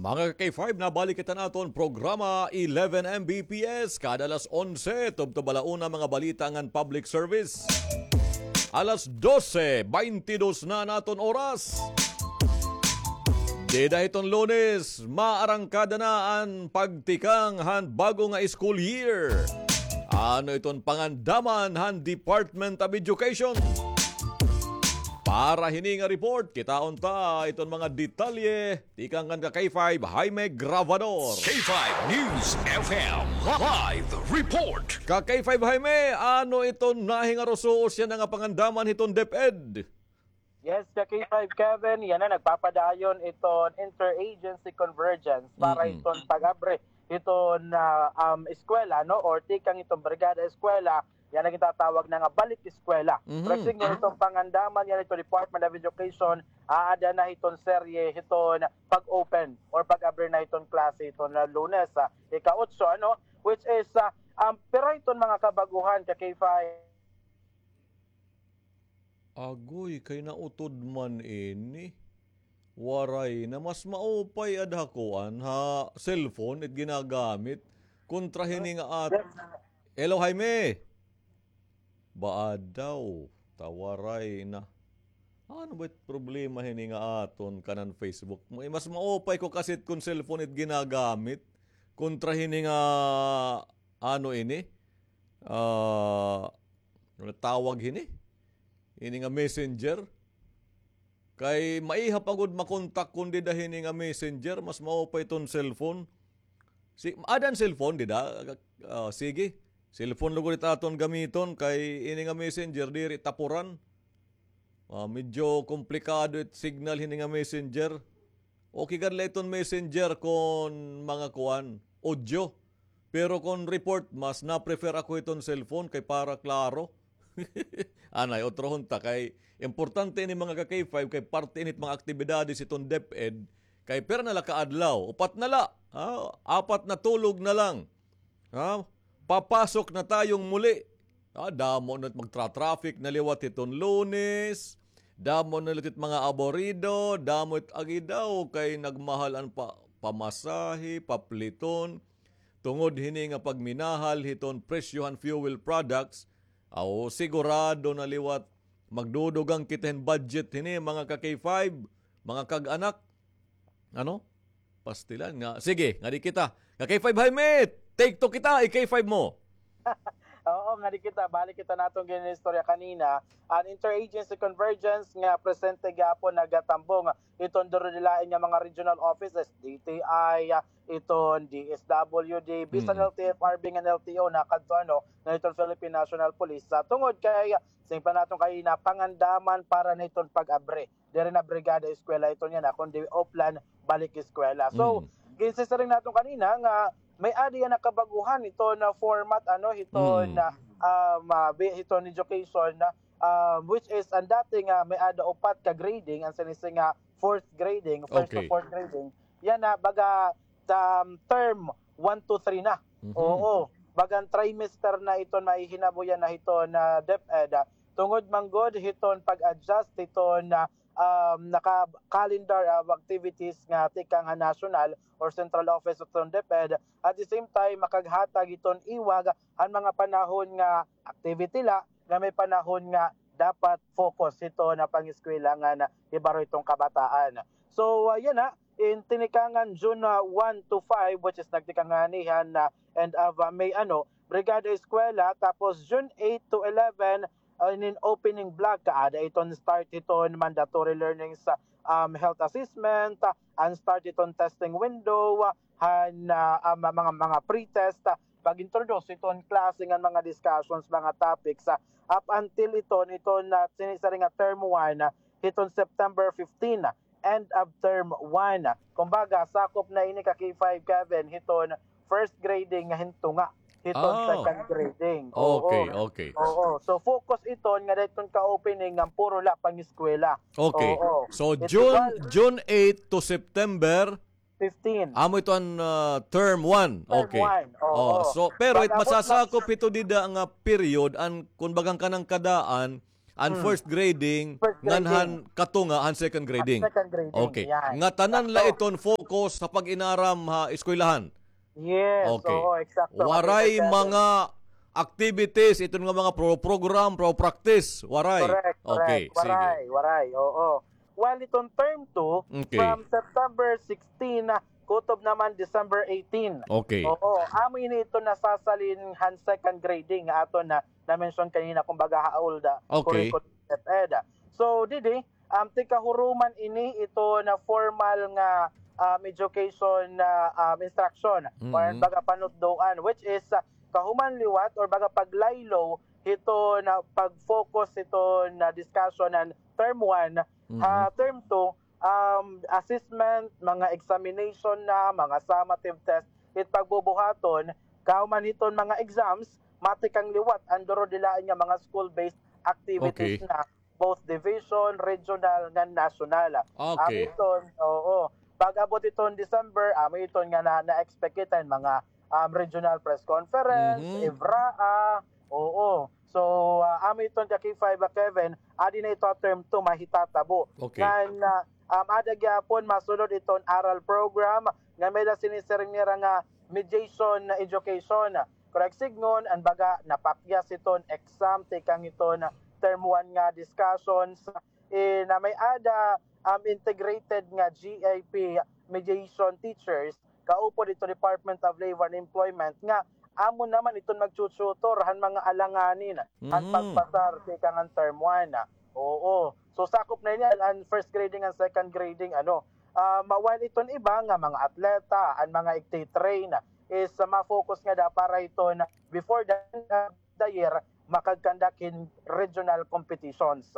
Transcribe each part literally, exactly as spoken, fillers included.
Mga ka-K five, nabalik kita naton programa eleven M B P S. Kada alas onse, tubtob ala una mga balita ngan public service. Alas dose, baynte dos na an aton oras. Dida hiton Lunes, maarangkada na an pagtikang han bag-o nga school year. Ano iton pangandaman han Department of Education? Para hini nga report, kitaon ta iton mga detalye tikang kan ka-K five Jaime Gravador. K five News F M live report. Ka-K five Jaime, ano iton nahingarusuos yana nga pangandaman hiton DepEd? Yes, ka-K five Kevin, yana nagpapadayon iton interagency convergence para Mm-mm. hiton pag-abre hiton, ah, um, eskwela, no? Or tikang iton brigada eskwela, yana gintatawag na nga balik eskwela. Mhm. Pero siring iton pangandaman yana hiton Department of Education, aada na hiton serye hiton pag-open or pag-abre na hiton klase hiton, ah, Lunes, ah, ika-otso, ano? Which is, ah, um, pira hiton mga kabag-ohan, ka-K five? Agoy, kay nautod man ini. Waray na, mas maupay ad ha kuan, ha cellphone it ginagamit kontra hini nga at-, Hello, Jaime. Baad daw, ta waray na. Ano ba it problema hini nga aton kanan Facebook? Mas maupay ko kasi kon cellphone it ginagamit kontra hini nga, ano ini? Ah, ano tawag hini? Ini nga messenger. Kay maiha pa gud makontak kon dida hini nga messenger, mas maupay iton cellphone. Si, aada an cellphone dida? Ah, sige. Cellphone lugod it aton gamiton kay ini nga messenger diri tapuran. Ah, medyo komplikado it signal hini nga messenger. Okay gad la iton messenger kon mga kuan, audio. Pero kon report, mas na-prefer ako iton cellphone kay para klaro. Anay, otrohon ta kay importante ini mga ka-K five kay parte ini it mga aktibidades iton DepEd kay pira na la ka adlaw, upat na la, ha? Apat na tulog na lang. Ha? Papasok na tayong muli. Ah, damo na it magtra-traffic na liwat hiton Lunes. Damo na liwat it mga aborido. Damo it agi daw kay nagmahal an pa-, pamasahe, papliton. Tungod hini nga pagminahal hiton presyo han fuel products, aw, sigurado na liwat magdudugang kita hin budget hini, mga ka-K five, mga kag-anak. Ano? Pastilan nga. Sige, ngadi kita. Ka-K five Jaime, take two kita, i-K five mo. Oo, ngadi kita. Balik kita naton ginaistorya kanina. An interagency convergence nga presente gihapon nagatambong iton durodilain nga mga regional offices, D T I, iton D S W D, bisan Mm. L T F R B ngan L T O na kadto, ano, na iton Philippine National Police. Sa tungod kay, ah, siring pa naton kanina, pangandaman para na iton pag-abre. Diri na brigada eskwela iton yana, kundi offline balik eskwela. So, Mm. ginsisiring naton kanina nga may-ada yana kabag-ohan iton format, ano, hiton, Mm. ah, um, ah, bi-, hiton education, ah, um, which is an dati nga may-ada upat ka grading, an siring nga fourth grading, first to Okay. fourth grading. Yana, baga, um, term one to three na. Mhm. Oo. Bagan trimester na iton mahihinabo yana hiton DepEd. Tungod man gud hiton pag-adjust hiton, ah, um, naka-calendar of activities nga tikang ha national or central office hiton DepEd. At the same time, makaghatag hiton iwag han mga panahon nga activity la, nga may panahon nga dapat focus hiton pang-eskwela ngan hibaro hiton kabataan. So, ah, yana, in tinikangan June, ah, one to five, which is nagtikang ngani han, ah, end of, ah, May, ano, Brigada Eskwela, tapos June eight to eleven, ah, in opening block, kaada iton start hiton mandatory learnings, ah, um, health assessment, ah, an start hiton testing window, ah, han, ah, ah, ma-, mga, mga pre-test, ah, pag-introduce hiton klase ngan mga discussions, mga topics, ah, up until iton, iton, ah, sinisiring nga term one, ah, hiton September fifteen, ah, end of term one. Kumbaga, sakop na ini ka K five, Kevin, hiton first grading nga hintunga hiton Ah. second grading. Oo. Okay, okay. Oo. So, focus iton nga dayton ka-opening nga puro la pang-eskwela. Okay. Oo. So, June, June eight to September fifteen. Amo ito an, ah, term one. Term Okay. one. Oo. Oh, so, pero it Pag-abot na masasakop ito dida nga period, an, kun bagang kanang kadaan, an first grading, ngan han katunga han second grading. Second grading, okay. Yan. Ngatanan la iton focus ha pag-inaram ha eskwelahan. Yes, okay. Oo, eksakto. Waray mga activities, iton nga mga pro program, pro practice, waray. Correct, correct. Okay, sige. Waray, waray, oo. While iton term two, okay, from September sixteen, kutob naman December eighteen. Okay. Oo, amo ini iton nasasalin han second grading nga aton na na-mention kanina, kumbaga, ha old, ah, okay, curriculum DepEd. So, didi, um, tikahuruman ini iton formal nga, um, education, ah, um, instruction or baga panutdoan, which is, ah, kahuman liwat or baga paglaylo hiton pag-focus hiton discussion han term one, ha term two, um, assessment, mga examination na, mga summative test, it pagbubuhaton, kahuman hiton mga exams, matikang liwat an duro dilain nga mga school-based activities na, both division, regional, ngan national. Okay. Amo iton, oo. Pag-abot iton December, amo iton nga na, na-expect kita hin mga, um, regional press conference, EVRAA, oo. So, ah, amo iton ka K five, ah, Kevin, adi na ito ha term two mahitatabo. Okay. Ngan, ah, um, ada gihapon masunod iton oral program nga may-ada sinisiring nira nga mediation education. Correct, sidngon, an baga napakyas iton exam tikang iton term one nga discussions, eh, na may-ada, um, integrated nga G I P mediation teachers kaupod iton Department of Labor and Employment nga amo naman iton magtututor han mga alanganin han pagpasar tikang an term one. Oo. So, sakop na ini an, an first grading, an second grading, ano. Ah, ma-, while iton iba nga mga atleta, an mga igti-train is, ah, ma-focus ngada para iton before the, ah, the year, makag-conduct hin regional competitions.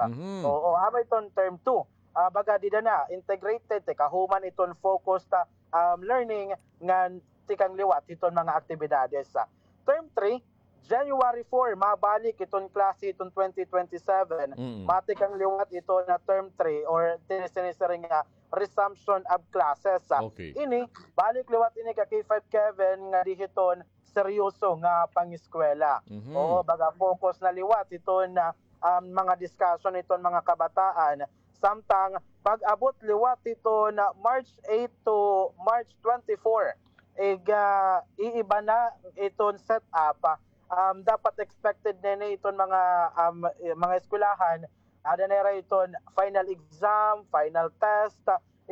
Oo, amo iton term two. Ah, baga dida na, integrated, tikahuman iton focused, ah, um, learning ngan tikang liwat hiton mga aktibidades. Ah, term three, January four, mabalik iton klase iton twenty twenty-seven. Matikang liwat iton term three or tin-, sinisiring nga resumption of classes. Ah, okay. Ini, balik liwat ini ka K five Kevin nga di hiton seryoso nga pangeskwela. Oo, baga focus na liwat iton, ah, um, mga discussion iton mga kabataan. Samtang pag-abot liwat iton March eight to March twenty-four, ig-, ah, iiba na iton setup. Um, dapat expected na ini iton mga, um, mga eskwelahan, ada na ira iton final exam, final test,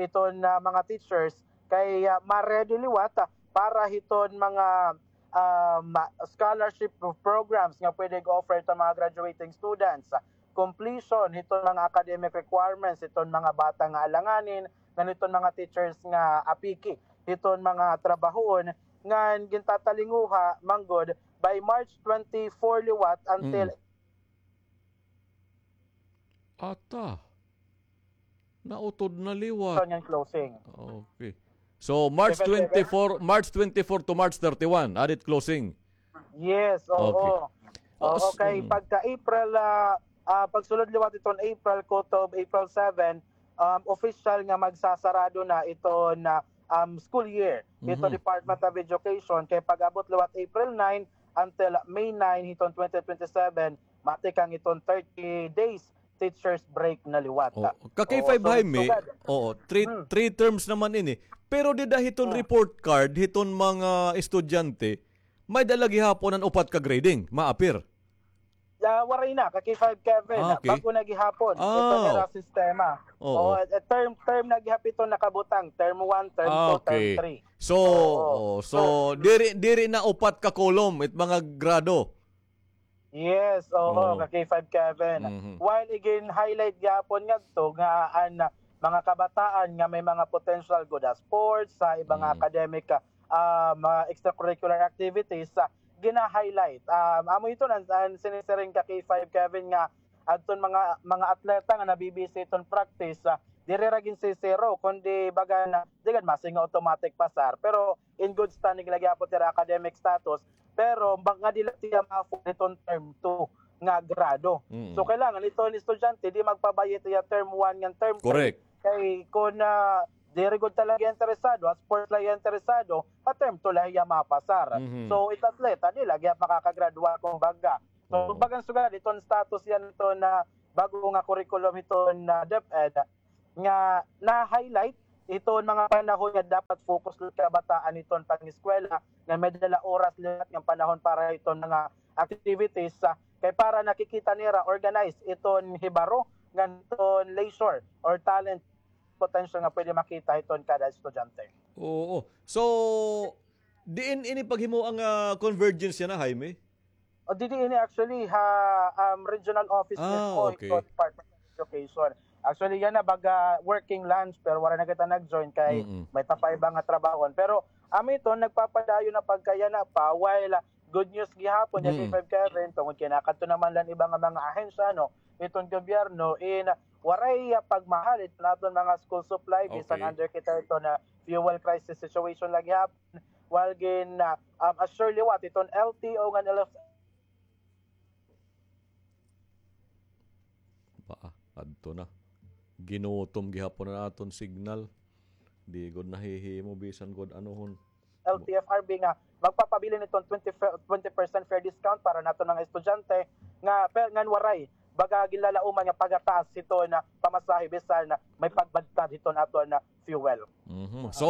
iton, ah, mga teachers kay, ah, ma-ready liwat, ah, para hiton mga, um, scholarship programs nga pwede i-offer iton mga graduating students. Completion hiton mga academic requirements hiton mga bata nga alanganin ngan hiton mga teachers nga apiki hiton mga trabahoon ngan gintatalinguha man gud by March twenty-four liwat until Ata. Nautod na liwat. Ngan closing. Okay. So, March twenty-four, March twenty-four to March thirty-one, adit closing. Yes, oo. Okay. Oo, kay pagka April, ah, ah, pagsulod liwat iton April kutob April seven, um, official nga magsasarado na iton, um, school year iton Department of Education. Kay pag-abot liwat April nine until May nine hiton twenty twenty-seven, matikang iton thirty days teachers break na liwat. Oo. Ka K five Jaime, oo, three, three terms naman ini. Pero dida hiton report card hiton mga estudyante, may-ada la gihapon an upat ka grading maapir. Ah, waray na, ka K five Kevin. Ah, okay. Bag-o na gihapon. Ito na ra sistema. Oo, eh, term, term na gihap ito nakabutang. Term one, term two, term three. So, oo. So, diri, diri na upat ka column it mga grado. Yes, oo, ka K five Kevin. While igin-highlight gihapon ngadto nga an mga kabataan nga may mga potential gud ha sports, sa iba nga academic, ah, mga extracurricular activities, ah, gina-highlight. Ah, amo ito an, an sinisiring ka K five Kevin nga adton mga, mga atleta nga nabibisi iton practice, ah, diri ra ginsisiro, kundi baga na, di gad masinga automatic pasar. Pero in good standing la gihapon it ira academic status, pero ba-, ngadi la it iya ma-afford iton term two nga grado. So, kailangan iton estudyante di magpabay-i it iya term one ngan term three. Correct. Kay kun, ah, diri gud talaga interesado, ha sports la iya interesado, ha term two la iya mapasar. So, it atleta, di la gihap makakagradua kumbaga. So, kumbaga, sugad iton status yana iton, ah, bag-o nga curriculum hiton, ah, DepEd nga na-highlight hiton mga panahon nga dapat focus liwat kabataan hiton pangeskwela, nga may dala oras liwat nga panahon para hiton mga activities, ah, kay para nakikita nira organized iton hibaro ngan iton leisure or talent potential nga pwede makita hiton kada estudyante. Oo. So, diin ini paghimo an, ah, convergence yana, Jaime? O, didi ini actually ha, um, regional office mismo hiton Department of Education. Actually, yana baga working lunch, pero wala na kita nag-join kay may tapay ba nga trabahon. Pero, amo iton nagpapadayon na pagkayana pa, while, ah, good news gihapon, ya K five Kevin, tungod kay nakadto naman lang iba nga mga ahensya, no, iton gobyerno, in, ah, waray, ah, pagmahal iton aton mga school supply, bisan under kita iton, ah, fuel crisis situation lagi hapon. While gin, ah, um, assure liwat iton L T O ngan L F Ba, adto na. Ginutom gihapon an aton signal. Di gud nahihimo bisan gud anohon. L T F R B nga magpapabilin hiton twenty, twenty percent fare discount para naton mga estudyante nga per, ngan waray baga ginlalauman nga pagataas hiton pamasahe bisan may pagbadtad hiton aton fuel. Mhm. So,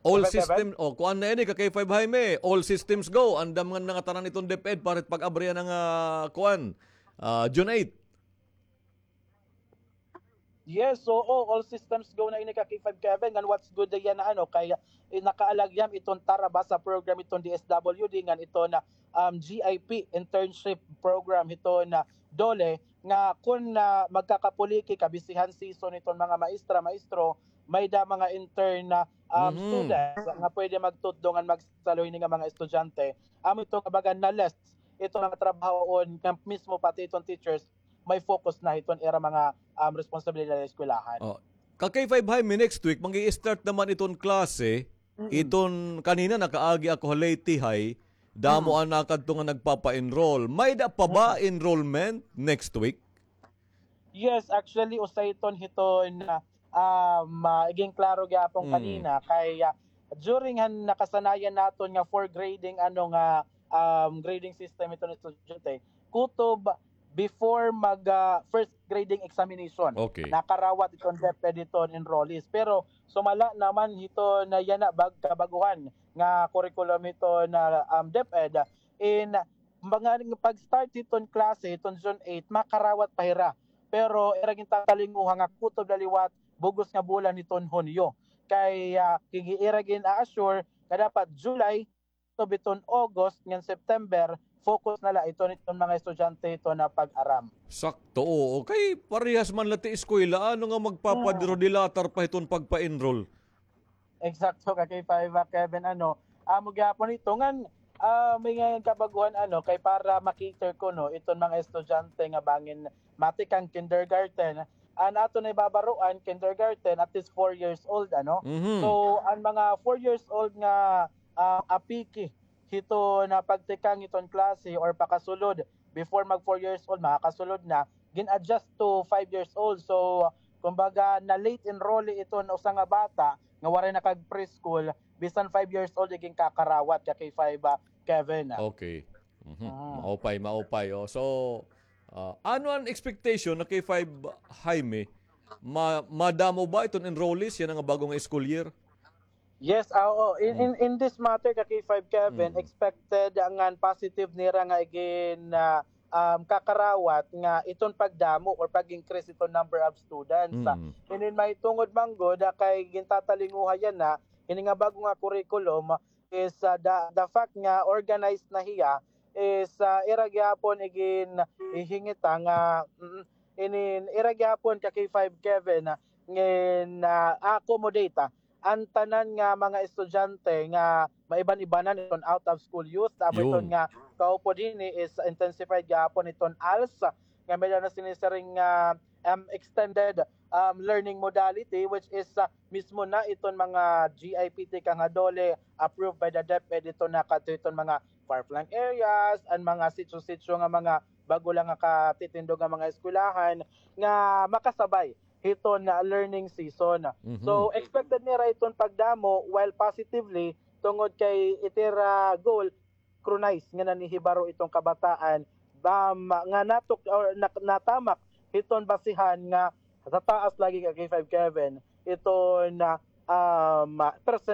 all system, oh, kuan na ini, ka K five Jaime, all systems go. Andam ngan nangatanan iton DepEd para pag-abri yana nga, ah, kuan, ah, June eight. Yes, oo, all systems go na ini, ka K five Kevin. Ngan what's good yana, ano, kay, eh, nakaalyam iton Tarabasa program iton D S W D ngan iton, um, G I P internship program hiton DOLE nga kun, ah, magkakapuliki, kabisihan season iton mga maestra, maestro, may-ada mga intern na, um, students nga pwede magtutdo ngan magsalo hini nga mga estudyante. Amo ito nga baga na-less iton mga trabahoon nga mismo pati iton teachers may focus na hiton ira mga, um, responsibilidad ha eskwelahan. Oh. Ka K five Jaime, next week mag-i-start naman iton klase. Iton kanina nakaagi ako ha Leyte High, damo an nakadto nga nagpapa-enroll. May-ada pa ba enrollment next week? Yes, actually, usa iton hiton, ah, um, ah, iging klaro gyapon kanina kay, ah, during han nakasanayan naton nga four grading, ano nga, um, grading system iton estudyante, kutob before mag, ah, first grading examination. Okay. Nakarawat iton DepEd hiton enrollees. Pero sumala naman hiton yana bag-, kabag-uhan nga curriculum hiton, um, DepEd, in mga pag-start hiton klase hiton June eight, makarawat pa hira. Pero ira gintatalinguha nga kutob la liwat bug-os nga bulan hiton Hunyo. Kay, ah, ira gin-a-assure nga dapat July, kutob hiton August ngan September, focus na la iton, iton mga estudyante hiton pag-aram. Sakto, oo. Kay parehas man la ti eskwela, ano nga magpapadrodilatar pa hiton pagpa-enroll? Eksakto, ka K five, ah, Kevin, ano, amo gyapon ito. Ngan, ah, may nga kabag-uhan, ano, kay para ma-cater kuno iton mga estudyante nga bangin matikang kindergarten. An aton nahibabaroan, kindergarten, at least four years old, ano? So, an mga four years old nga, ah, apiki hiton pagtikang hiton klase or pakasulod, before mag four years old, makakasulod na, gin-adjust to five years old. So, kumbaga, na-late enrollee iton usa nga bata nga waray nakag-preschool, bisan five years old, igin kakarawat ka K five, ah, Kevin, ah. Okay. Mhm. Ah. Maupay, maupay, oh. So, ah, ano an expectation na K five, Jaime? Ma-, madamo ba iton enrollees yana nga bag-o nga school year? Yes, ah, oo. In, in, in this matter, ka K five Kevin, expected ngan positive nira nga igin, ah, um, kakarawat nga iton pagdamo or pag-increase iton number of students. Ah, inin mahitungod man gud, ah, kay gintatalinguha yana, ini nga bag-o nga curriculum is, ah, the, the fact nga organized na hiya is, ah, ira gyapon igin ihingita nga, mm, inin, ira gyapon ka K five Kevin, ah, ngin, ah, accommodate, ah, an tanan nga mga estudyante nga maiban-ibanan iton out of school youth, amo iton nga kaupod hini is intensified gihapon iton als, nga may-ada na sinisiring nga, um, extended, um, learning modality, which is, ah, mismo na iton mga G I P tikang ha DOLE approved by the DepEd iton nga kadto iton mga far-flung areas, an mga sitio-sitio nga mga bag-o lang nga katitindog nga mga eskwelahan nga makasabay hiton, ah, learning season. So, expected nira iton pagdamo, while positively, tungod kay it ira goal, synchronize nga nanhihibaro iton kabataan, um, nga natuk-, or nak-, natamak hiton basihan nga tataas lagi ka K five Kevin, iton, ah, um, percent